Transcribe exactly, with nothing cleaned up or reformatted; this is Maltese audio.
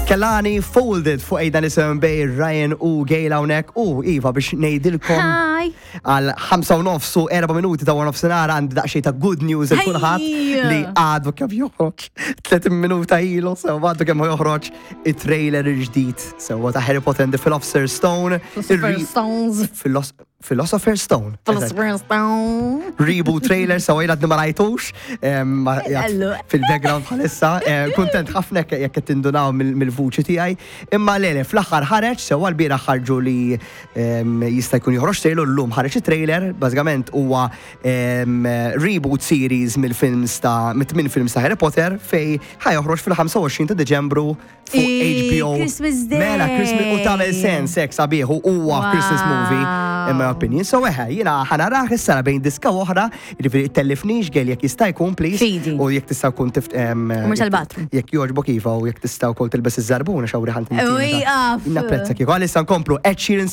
Kehlani, "Folded" fuq Ejda Nisem bej Ryan u Gail hawnhekk u iva biex ngħidilkom Hi. għal ħamsa u nofs u erba' minuti ta' nofsinhar għandi daqsxejn ta' good news il kulħadd Hi. li għadu kemm joħroġ tletin minuta ilu, sew għadu kemm joħroġ it-trailer il-ġdid sewa ta' Harry Potter and the Philosopher's Stone. Philosopher's Ir-re- Stones. Philos- Philosopher's Stone. Philosopher's Stone. Reboot trailer, so jien għadni ma rajtux em, ma- jgħat Ellu. fil-background bħalissa. Eh, Kuntent ħafna jekk jekk qed tindunaw mill- mill-vuċi tiegħi. Imma lele, fl-aħħar ħareġ, sewa l-bieraħ ħarġu li em, jista' jkun joħroġ trailer, llum ħareġ it-trailer, bażikament huwa em, reboot series mill-films ta' mit-tmien films ta' Harry Potter fej ħa joħroġ fil-ħamsa u għoxrin ta' Deċembru fuq Ii, H B O. Christmas Day. Mela, Christmas u tagħmel sens hekk sabiħ u huwa Christmas movie in my opinion. So eħe, jiena ħa narah issa bejn diska oħra, jiġifieri tellifnix, Gail, jekk jista' jkun, please. Fidi. U jekk tista' jkun tift em, Mhux għal-bathroom. Jekk jogħġbok iva u jekk tista' wkoll tilbes iż-żarbuna xawri ħant. Ui, af. Napprezza kieku. Għalissa nkomplu Ed Sheeran.